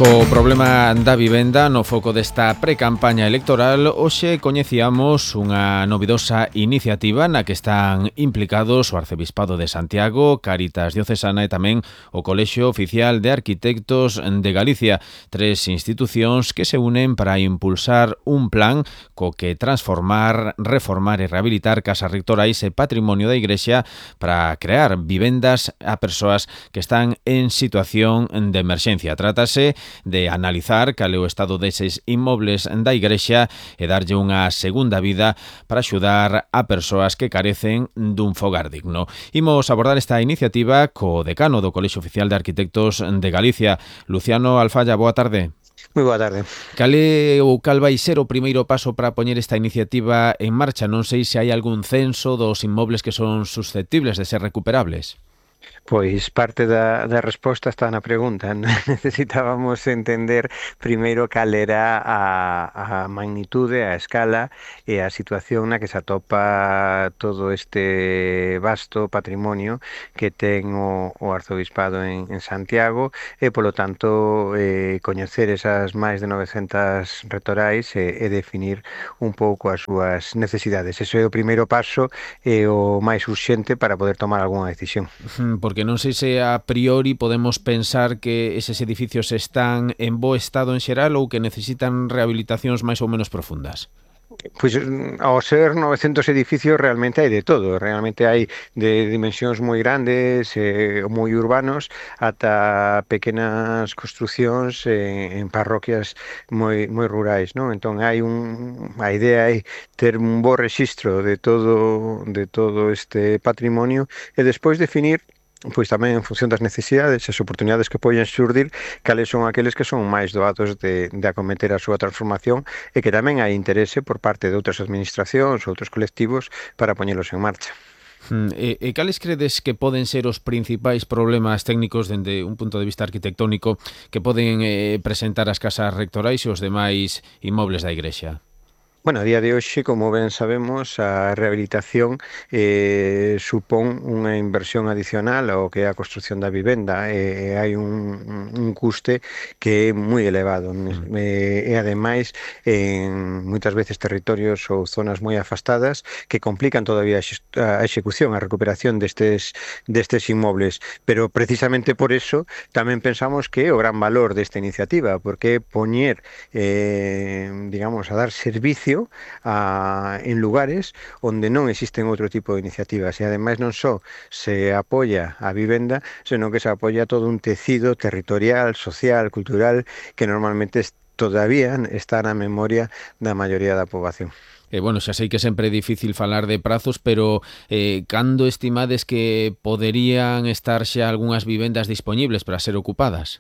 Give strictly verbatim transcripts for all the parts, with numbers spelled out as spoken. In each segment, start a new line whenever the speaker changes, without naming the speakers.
Co problema da vivenda no foco desta precampaña electoral, hoxe coñecíamos unha novidosa iniciativa na que están implicados o Arcebispado de Santiago, Cáritas Diocesana e tamén o Colexio Oficial de Arquitectos de Galicia, tres institucións que se unen para impulsar un plan co que transformar, reformar e rehabilitar casas rectorais e patrimonio da Igrexa para crear vivendas a persoas que están en situación de emerxencia. Trátase de analizar cal é o estado deses inmobles da Igrexa e darlle unha segunda vida para axudar a persoas que carecen dun fogar digno. Imos abordar esta iniciativa co decano do Colexio Oficial de Arquitectos de Galicia, Luciano Alfalla. Boa tarde.
Moi boa tarde.
Cal é ou cal vai ser o primeiro paso para poñer esta iniciativa en marcha? Non sei se hai algún censo dos inmobles que son susceptibles de ser recuperables.
Pois parte da, da resposta está na pregunta. Necesitábamos entender primeiro cal era a, a magnitude, a escala e a situación na que se atopa todo este vasto patrimonio que ten o, o Arzobispado en, en Santiago e, polo tanto, eh, coñecer esas máis de novecentas rectorais e, e definir un pouco as súas necesidades. Ese é o primeiro paso e o máis urxente para poder tomar algunha decisión.
Porque non sei se a priori podemos pensar que eses edificios están en bo estado en xeral ou que necesitan rehabilitacións máis ou menos profundas.
Pois ao ser novecentos edificios realmente hai de todo, realmente hai de dimensións moi grandes, eh, moi urbanos, ata pequenas construcións en, en parroquias moi moi rurais, non? Entón hai un a idea é ter un bo rexistro de todo de todo este patrimonio e despois definir pois tamén en función das necesidades e as oportunidades que poden xurdir, cales son aqueles que son máis doados de, de acometer a súa transformación e que tamén hai interese por parte de outras administracións, outros colectivos, para poñelos en marcha.
E, e cales credes que poden ser os principais problemas técnicos dende un punto de vista arquitectónico que poden eh, presentar as casas rectorais e os demais inmobles da Igrexa?
Bueno, a día de hoxe, como ben sabemos, a rehabilitación eh, supón unha inversión adicional ao que é a construción da vivenda e eh, hai un, un custe que é moi elevado mm. e, e ademais en moitas veces territorios ou zonas moi afastadas que complican todavía a execución, a recuperación destes, destes inmobles, pero precisamente por eso tamén pensamos que é o gran valor desta iniciativa, porque é poñer, eh, digamos, a dar servicio A, en lugares onde non existen outro tipo de iniciativas e ademais non só se apoia a vivenda, senón que se apoia todo un tecido territorial, social, cultural que normalmente todavía está na memoria da maioría da poboación.
Eh, bueno, xa sei que sempre é difícil falar de prazos, pero eh, cando estimades que poderían estar xa algunhas vivendas dispoñibles para ser ocupadas?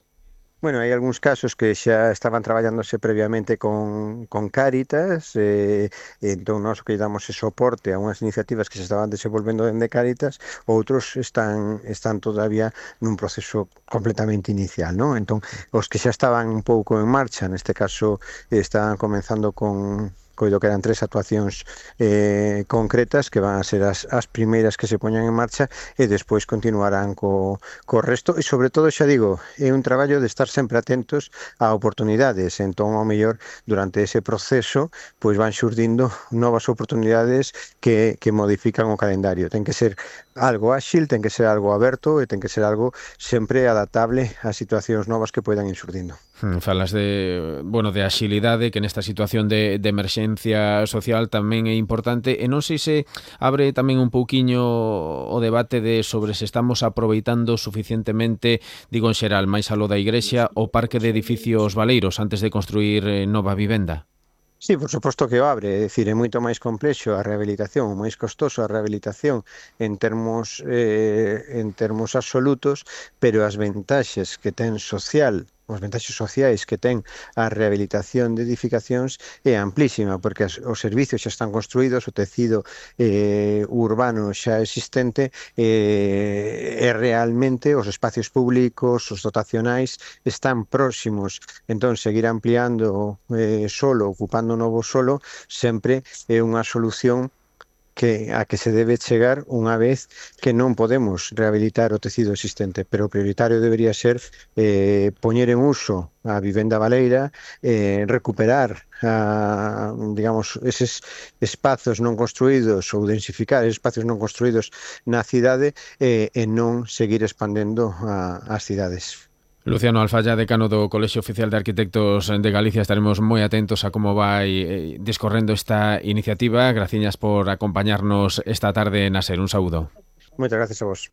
Bueno, hai algúns casos que xa estaban traballándose previamente con, con Cáritas, eh, entón nós que damos ese soporte a unhas iniciativas que se estaban desenvolvendo dende Cáritas, outros están están todavía nun proceso completamente inicial, non? Entón, os que xa estaban un pouco en marcha, neste caso estaban comenzando con coido que eran tres actuacións eh, concretas que van a ser as, as primeiras que se poñan en marcha e despois continuarán co, co resto e sobre todo, xa digo, é un traballo de estar sempre atentos a oportunidades, entón ao mellor durante ese proceso pois van xurdindo novas oportunidades que, que modifican o calendario. Ten que ser algo áxil, ten que ser algo aberto e ten que ser algo sempre adaptable a situacións novas que poidan ir xurdindo.
Falas de, bueno, de axilidade, que nesta situación de, de emerxencia social tamén é importante, e non sei se abre tamén un pouquiño o debate de sobre se estamos aproveitando suficientemente, digo en xeral, máis aló da Igrexa, o parque de edificios baleiros antes de construir nova vivenda.
Sí, por suposto que o abre, é dicir, é moito máis complexo a rehabilitación, máis costoso a rehabilitación en termos eh, en termos absolutos, pero as ventaxes que ten social os vantaxes sociais que ten a rehabilitación de edificacións é amplísima, porque as, os servicios xa están construídos, o tecido eh, urbano xa existente eh, e realmente os espacios públicos, os dotacionais están próximos, entón seguir ampliando eh, solo, ocupando novo solo, sempre é unha solución que a que se debe chegar unha vez que non podemos rehabilitar o tecido existente, pero o prioritario debería ser eh, poñer en uso a vivenda baleira, eh, recuperar a, digamos, eses espazos non construídos ou densificar eses espacios non construídos na cidade eh, e non seguir expandendo a, as cidades.
Luciano Alfaya, decano do Colexio Oficial de Arquitectos de Galicia, estaremos moi atentos a como vai discorrendo esta iniciativa. Graciñas por acompañarnos esta tarde na SER. Un saúdo.
Moitas gracias a vos.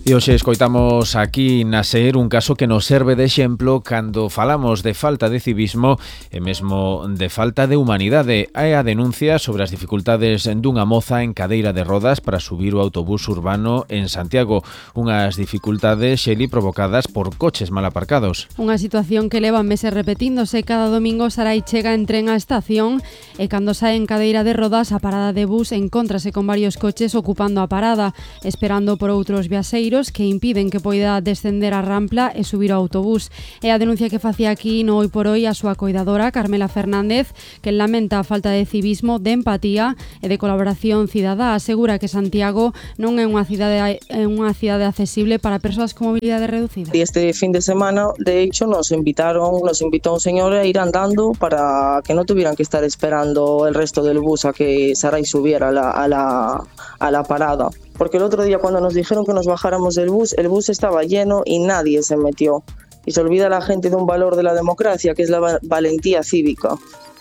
E hoxe escoitamos aquí na SER un caso que nos serve de exemplo cando falamos de falta de civismo e mesmo de falta de humanidade. É a denuncia sobre as dificultades dunha moza en cadeira de rodas para subir o autobús urbano en Santiago. Unhas dificultades, Xeli, provocadas por coches mal aparcados.
Unha situación que leva meses repetíndose. Cada domingo Sarai chega en tren á estación e cando sae en cadeira de rodas a parada de bus encóntrase con varios coches ocupando a parada, esperando por outros viaxeiros que impiden que poida descender a rampla e subir ao autobús. É a denuncia que facía aquí no Hoy por Hoy a súa coidadora, Carmela Fernández, que lamenta a falta de civismo, de empatía e de colaboración cidadá. Asegura que Santiago non é unha cidade é unha cidade accesible para persoas con mobilidade reducida.
Y este fin de semana, de hecho, nos invitaron, nos invitó un señor a ir andando para que no tuvieran que estar esperando el resto del bus a que Sarai subiera a la, a la, a la parada. Porque el otro día cuando nos dijeron que nos bajáramos del bus, el bus estaba lleno y nadie se metió. Y se olvida la gente de un valor de la democracia, que es la va- valentía cívica.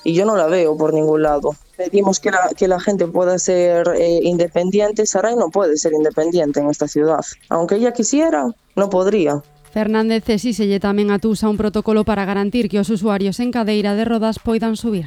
Y yo no la veo por ningún lado. Pedimos que la, que la gente pueda ser eh, independiente. Sarai no puede ser independiente en esta ciudad. Aunque ella quisiera, no podría.
Fernández exíxelle tamén a Tusa un protocolo para garantir que os usuarios en cadeira de rodas poidan subir.